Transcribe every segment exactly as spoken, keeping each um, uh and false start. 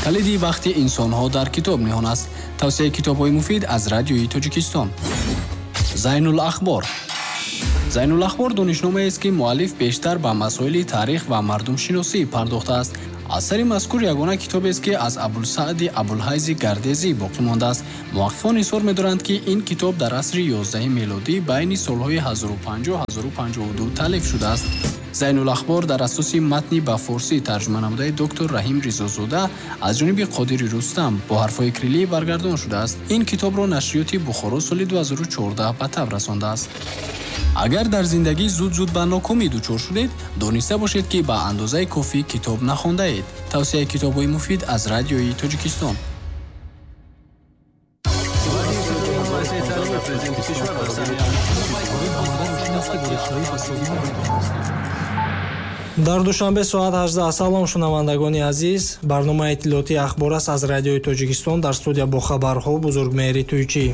Калиди бахти инсонҳо дар китоб ниҳон аст. Тавсияи китобҳои муфид аз Радиои Тоҷикистон. Зайнулахбор. Зайнулахбор донишномаест, ки муаллиф бештар ба масоили таърих ва мардумшиносӣ пардохтааст. Асари мазкур ягона китобест, ки аз Абулсаъди Абулҳайзи Гардезӣ боқӣ мондааст. Муҳаққиқон изҳор медоранд, ки ин китоб дар асри ёздаҳи мелодӣ байни солҳои ҳазору панҷоҳ ҳазору панҷоҳу ду таълиф шудааст. Зайнулахбор дар асоси матни ба форсӣ тарҷума намудаи доктор Раҳим Ризозода аз ҷониби Қодири Рустам бо ҳарфҳои кириллӣ баргардон шудааст. Ин китобро нашриёти Бухоро соли ду ҳазору чордаҳ ба таб расондааст. Агар дар зиндагӣ зуд-зуд ба нокомӣ дучор шудед, дониста бошед, ки ба андозаи кофӣ китоб нахондаед. Тавсияи китобҳои муфид аз Радиои Тоҷикистон. Дар Душанбе соат ҳаждаҳ. Салом, шунавандагони азиз. Барномаи иттилоотии ахбор аст аз Радиои Тоҷикистон. Дар студия бо хабарҳо Бузургмеҳри Туйчӣ.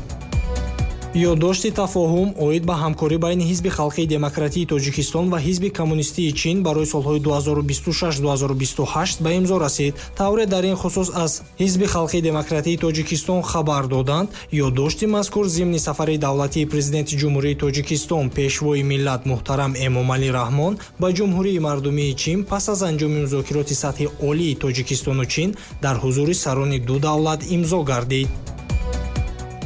Ёддошти тафоҳум оид ба ҳамкорӣ байни Ҳизби Халқии Демократии Тоҷикистон ва Ҳизби Коммунистии Чин барои солҳои ду ҳазору бисту шаш ду ҳазору бисту ҳашт ба имзо расид. Тавре дар ин хусус аз Ҳизби Халқии Демократии Тоҷикистон хабар доданд, ёддошти мазкур зимни сафари давлатии Президенти Ҷумҳурии Тоҷикистон, Пешвои миллат муҳтарам Эмомалӣ Раҳмон ба Ҷумҳурии Мардумии Чин пас аз анҷоми музокироти сатҳи олии Тоҷикистону Чин дар ҳузури сарони ду давлат имзо гардид.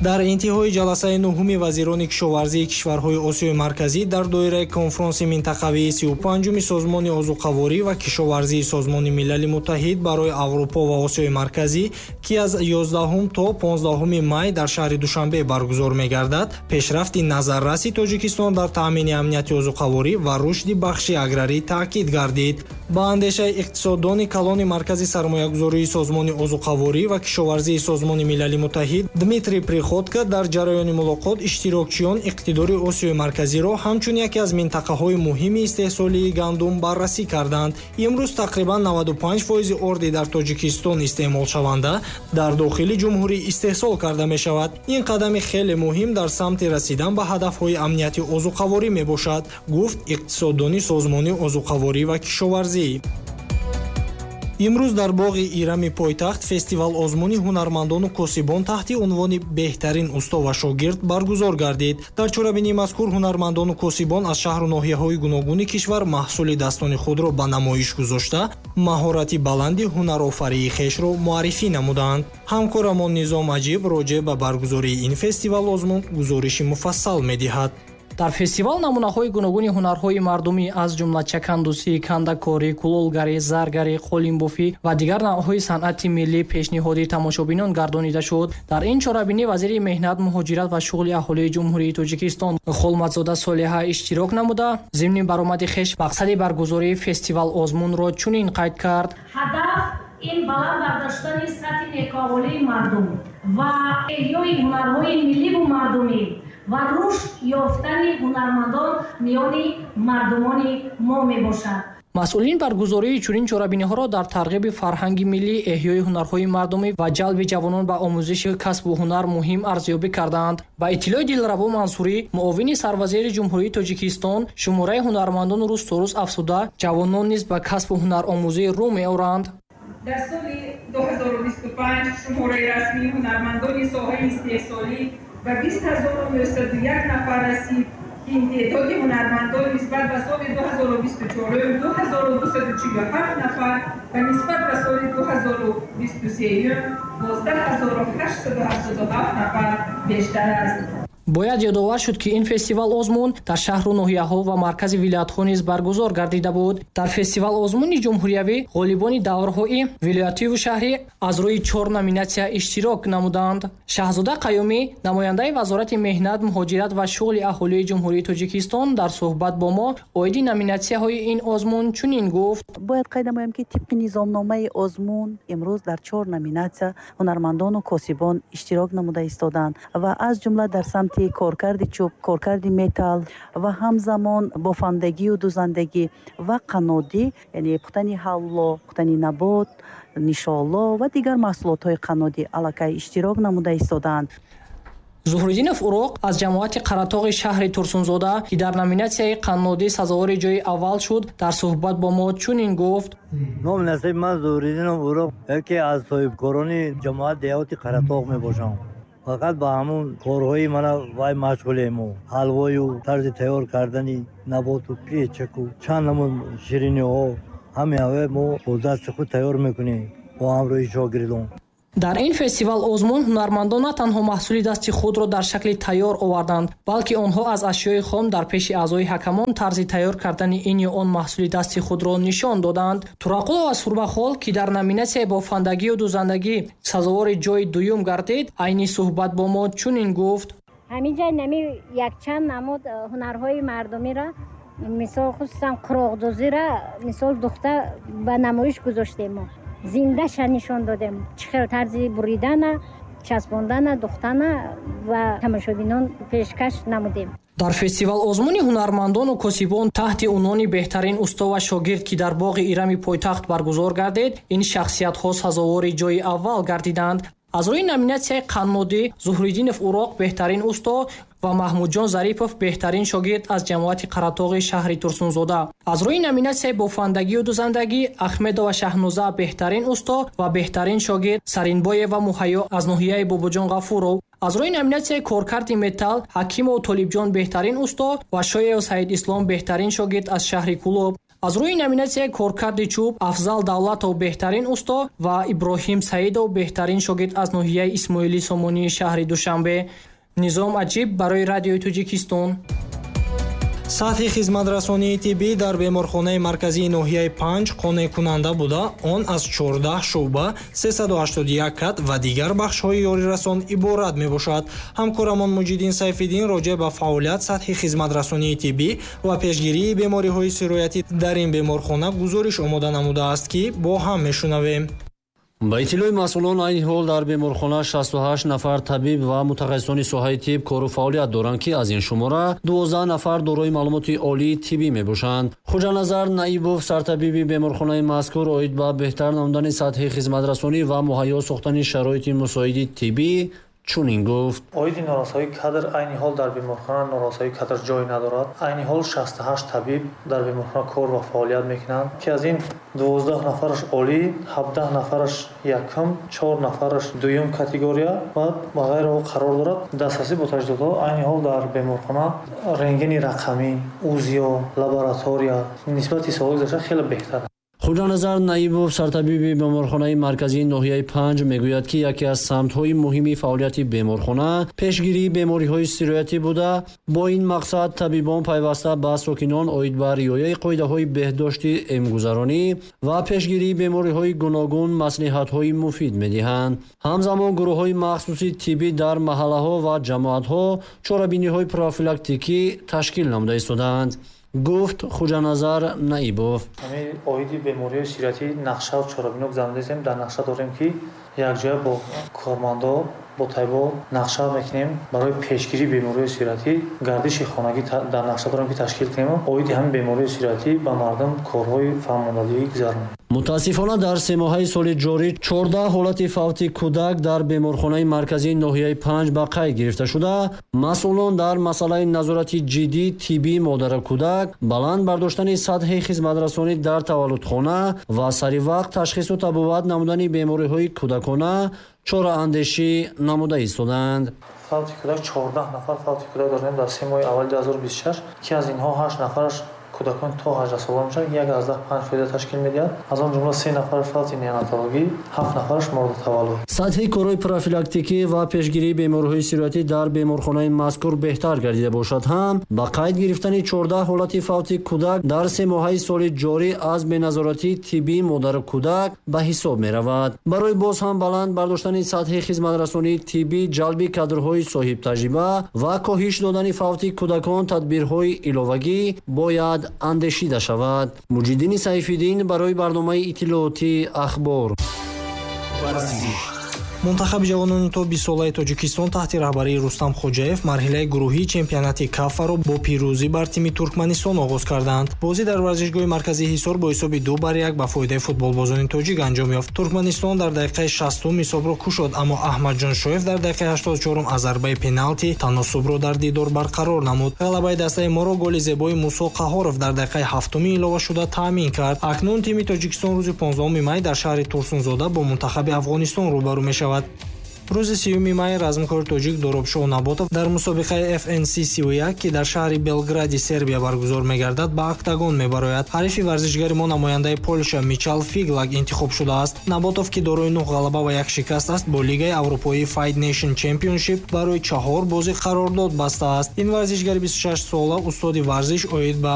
Дар интиҳои ҷаласаи нуҳуми вазирони кишоварзии кишварҳои Осиёи Марказӣ дар доираи конфронси минтақавии сию панҷуми Созмони озуқаворӣ ва кишоварзии Созмони Милали Муттаҳид барои Аврупо ва Осиёи Марказӣ, ки аз ёздаҳум то понздаҳуми май дар шаҳри Душанбе баргузор мегардад, пешрафти назарраси Тоҷикистон дар таъмини амнияти озуқаворӣ ва рушди бахши аграрӣ таъкид гардид. Ба андешаи иқтисоддони калони Маркази сармоягузории Созмони озуқаворӣ ва кишоварзии Созмони Милали Муттаҳид Дмитрий Приходко дар ҷараёни мулоқот иштирокчиён иқтидори Осиёи Марказиро ҳамчун яке аз минтақаҳои муҳими истеҳсолии гандум баррасӣ карданд. Имрӯз тақрибан наваду панҷ фоизи орди дар Тоҷикистон истеъмолшаванда дар дохили ҷумҳурӣ истеҳсол карда мешавад. Ин қадами хеле муҳим дар самти расидан ба ҳадафҳои амнияти озуқаворӣ мебошад, гуфт иқтисоддони Созмони озуқаворӣ ва кишоварзӣ. Имрӯз дар боғи Ирами пойтахт фестивал озмуни ҳунармандону косибон таҳти унвони беҳтарин усто ва шогирд баргузор гардид. Дар чорабинии мазкур ҳунармандону косибон аз шаҳру ноҳияҳои гуногуни кишвар маҳсули дастони худро ба намоиш гузошта, маҳорати баланди ҳунарофарии хешро муаррифӣ намуданд. Ҳамкорамон Низом Аҷиб роҷеъ ба баргузории ин фестивал озмун гузориши муфассал медиҳад. Дар фестивал намунаҳои гуногуни ҳунарҳои мардумӣ аз ҷумла чакандусӣ, кандакорӣ, кулолгарӣ, заргарӣ, қолинбофӣ ва дигар навъҳои санъати миллӣ пешниҳоди тамошобинон гардонида шуд. Дар ин чорабинӣ вазири меҳнат, муҳоҷират ва шуғли аҳолии Ҷумҳурии Тоҷикистон Холматзода Солиҳа иштирок намуда, зимни баромади хеш мақсади баргузории фестивал озмунро чунин қайд кард. Ҳадаф ин баланд бардоштани сатҳи некӯаҳволии мардум ва эҳёи ҳунарҳои милливу мардумӣ ва рушд ёфтани ҳунармандон миёни мардумони мо мебошад. Масъулин баргузории чунин чорабиниҳоро дар тарғиби фарҳанги миллӣ, эҳёи ҳунарҳои мардумӣ ва ҷалби ҷавонон ба омӯзиши касбу ҳунар муҳим арзёбӣ карданд. Ба иттилои Дилрабо Мансурӣ, муовини сарвазири Ҷумҳурии Тоҷикистон, шумораи ҳунармандон рӯз то рӯз афзуда, ҷавонон низ ба касбу ҳунаромӯзӣ рӯ меоранд. Дар соли ду ҳазору бисту панҷ шумораи расмии ҳунармандони соҳаи истеҳсолӣ ба бист ҳазору нӯҳсаду як нафар расид, ки ин теъдоди ҳунармандон нисбат ба соли ду ҳазору бисту чорум ду ҳазору дусаду чилу ҳафт нафар ва нисбат ба соли ду ҳазору бисту сеюм дувоздаҳ ҳазору ҳаштсаду ҳаштоду ҳафт нафар бештар аст. Бояд ёдовар шуд, ки ин фестивал озмун дар шаҳру ноҳияҳо ва маркази вилоятҳо низ баргузор гардида буд. Дар фестивал озмуни ҷумҳуриявӣ ғолибони даврҳои вилоятиву шаҳрӣ аз рӯи чор номинатсия иштирок намуданд. Шаҳзода Қаюмӣ, намояндаи Вазорати меҳнат, муҳоҷират ва шуғли аҳолии Ҷумҳурии Тоҷикистон дар суҳбат бо мо оиди номинатсияҳои ин озмун чунин гуфт. Бояд қайд намоям, ки тибқи низомномаи озмун имрӯз дар чор номинатсия ҳунармандону косибон иштирок намуда истоданд ва аз ҷумла дар самти коркарди чӯб, коркарди металл ва ҳамзамон бофандагию дузандагӣ ва қаннодӣ, яъне пухтани ҳалло, пухтани набот, нишоло ва дигар маҳсулотҳои қаннодӣ аллакай иштирок намуда истодаанд. Зуҳриддинов Уроқ аз ҷамоати Қаратоғи шаҳри Турсунзода, ки дар номинатсияи қаннодӣ сазовори ҷои аввал шуд, дар суҳбат бо мо чунин гуфт: Ном насиби ман Зуҳриддинов Уроқ, яке аз соҳибкорони ҷамоат деҳоти Қаратоғ мебошам. Фақат ба ҳамун корҳои мана вай машғулем, ҳалвою тарзи тайёр кардани наботу печаку чанд намуд шириниҳо ҳамаи ҳаве мо бо дасти худ тайёр мекунем бо ҳамроҳи шогирдон. Дар ин фестивал озмун ҳунармандон на танҳо маҳсули дасти худро дар шакли тайёр оварданд, балки онҳо аз ашёи хом дар пеши аъзои ҳакамон тарзи тайёр кардани ин ё он маҳсули дасти худро нишон доданд. Турақулова Сурбахол, ки дар номинатсияи бофандагию дузандагӣ сазовори ҷои дуюм гардид, айни суҳбат бо мо чунин гуфт: Ҳаминҷа нами якчанд намуд ҳунарҳои мардумиро, мисол хусусан қуроқдӯзиро, мисол духта ба намоиш гузоштем, мо зиндаша нишон додем, чӣ хел тарзи буридана, часпондана, духтана ва тамошобинон пешкаш намудем. Дар фестивал озмуни ҳунармандону косибон таҳти унвони беҳтарин усто ва шогирд, ки дар боғи Ирами пойтахт баргузор гардид, ин шахсиятҳо сазовори ҷои аввал гардиданд. Аз рӯи номинатсияи қаннодӣ Зуҳриддинов Уроқ беҳтарин усто ва Маҳмудҷон Зарипов беҳтарин шогирд аз ҷамоати Қаратоғи шаҳри Турсунзода. Аз рӯи номинатсияи бофандагию дузандагӣ Ахмедова Шаҳноза беҳтарин усто ва беҳтарин шогирд Саринбоева Муҳайё аз ноҳияи Бобоҷон Ғафуров. Аз рӯи номинатсияи коркарди металл Ҳакимов Толибҷон беҳтарин усто ва Шоев Саид Ислом беҳтарин шогирд аз шаҳри Кулоб. Аз рӯи номинатсияи коркарди чӯб Афзал Давлатов беҳтарин усто ва Иброҳим Саидов беҳтарин шогирд аз ноҳияи Исмоили Сомонии шаҳри Душанбе. Низом Аҷиб барои Радиои Тоҷикистон. Сатҳи хизматрасонии тиббӣ дар беморхонаи марказии ноҳияи панҷ қонеъкунанда буда, он аз чордаҳ шӯъба, сесаду ҳаштоду як кат ва дигар бахшҳои ёрирасон иборат мебошад. Ҳамкорамон Муҷиддин Сайфиддин роҷеъ ба фаъолият, сатҳи хизматрасонии тиббӣ ва пешгирии бемориҳои сироятӣ дар ин беморхона гузориш омода намудааст, ки бо ҳам мешунавем. Ба иттилои масъулон, айни ҳол дар беморхона шасту ҳашт нафар табиб ва мутахассисони соҳаи тиб кору фаъолият доранд, ки аз ин шумора дувоздаҳ нафар дорои маълумоти олии тиббӣ мебошанд. Хуҷаназар Наибов, сартабиби беморхонаи мазкур, оид ба беҳтар намудани сатҳи хизматрасонӣ ва муҳайё сохтани шароити мусоиди тиббӣ чунин гуфт: Оиди норасоии кадр айни ҳол дар беморхона норасоии кадр ҷой надорад. Айни ҳол шасту ҳашт табиб дар беморхона кор ва фаъолият мекунанд, ки аз ин дувоздаҳ нафараш олӣ, ҳабдаҳ нафараш якум, чор нафараш дуюм категория ва ба ғайра қарор дорад. Дастрасӣ бо таҷҳизотҳо айни ҳол дар беморхона рентгени рақамӣ, УЗИО, лаборатория нисбати солҳои гузашта хеле беҳтар. Хуҷаназар Наибов, сартабиби беморхонаи марказии ноҳияи панҷ, мегӯяд, ки яке аз самтҳои муҳими фаъолияти беморхона пешгирии бемориҳои сироятӣ буда, бо ин мақсад табибон пайваста ба сокинон оид ба риояи қоидаҳои беҳдошти эмгузаронӣ ва пешгирии бемориҳои гуногун маслиҳатҳои муфид медиҳанд. Ҳамзамон гурӯҳҳои махсуси тиббӣ дар маҳаллаҳо ва ҷамоатҳо чорабиниҳои профилактикӣ ташкил намуда истодаанд, гуфт Хуҷаназар Наибов. Ҳамин оиди бемориҳои сироятӣ нақша ва чорабиниҳо гузаронидаем. Дар нақша дорем, ки якҷоя бо кормандо, бо табибо нақша мекунем барои пешгирии бемориҳои сироятӣ. Гардиши хонагӣ дар нақша дорем, ки ташкил кунем. Оиди ҳамин бемориҳои сироятӣ ба мардум корҳои фаҳмондадиҳӣ гузаронем. Мутаассифона дар семоҳаи соли ҷорӣ чордаҳ ҳолати фавти кӯдак дар беморхонаи марказии ноҳияи панҷ ба қайд гирифта шуда, масъулон дар масъалаи назорати ҷиддии тиббии модару кӯдак, баланд бардоштани сатҳи хизматрасонӣ дар таваллудхона ва саривақт ташхису табобат намудани бемориҳои кӯдакона чораандешӣ намуда истодаанд. Фавти кӯдак чордаҳ нафар фавти кӯдак дорем дар се моҳи аввали ду ҳазору бисту шаш, ки аз инҳо ҳашт нафараш кӯдакон то ҳаждаҳ сола мешаванд, як аз даҳ панҷ фоида ташкил медиҳад. Аз он ҷумла се нафараш фавти неонатологӣ, ҳафт нафараш морди таваллуд. Сатҳи корҳои профилактикӣ ва пешгирии бемориҳои сироятӣ дар беморхонаи мазкур беҳтар гардида бошад ҳам, ба қайд гирифтани чордаҳ ҳолати фавти кӯдак дар се моҳаи соли ҷорӣ аз беназоратии тиббии модару кӯдак ба ҳисоб меравад. Барои боз ҳам баланд бардоштани сатҳи хизматрасонии тиббӣ, ҷалби кадрҳои соҳибтаҷриба ва коҳиш додани фавти кӯдакон тадбирҳои иловагӣ бояд андешида шавад. Муҷиддини Сайфиддин барои барномаи иттилоотии Ахбор. Варзиш. Мунтахаби ҷавонони то бистсолаи Тоҷикистон таҳти раҳбарии Рустам Хоҷаев марҳилаи гурӯҳии чемпионати Кафаро бо пирӯзӣ бар тими Туркманистон оғоз карданд. Бозӣ дар варзишгоҳи марказии Ҳисор бо ҳисоби ду бар як ба фоидаи футболбозони тоҷик анҷом ёфт. Туркманистон дар дақиқаи шастум ҳисобро кушод, аммо Аҳмадҷон Шоев дар дақиқаи ҳаштоду чорум аз зарбаи пеналти таносубро дар дидор барқарор намуд. Ғалабаи дастаи моро голи зебои Мусо Қаҳоров дар дақиқаи ҳафтуми иловашуда таъмин кард. Акнун тими Тоҷикистон рӯзи понздаҳуми май дар шаҳри Турсунзода бо мунтахаби Афғонистон рӯбарӯ мешавад. Рӯзи сиюми май размкори тоҷик Доробшоҳ Наботов дар мусобиқаи F N C сиву як, ки дар шаҳри Белгради Сербия баргузор мегардад, ба октагон мебарояд. Ҳарифи варзишгари мо намояндаи Полша Мичал Фиглак интихоб шудааст. Наботов, ки дорои нӯҳ ғалаба ва як шикаст аст, бо лигаи аврупоии Fight Nation Championship барои чаҳор бозӣ қарордод бастааст. Ин варзишгари бисту шаш сола устоди варзиш оид ба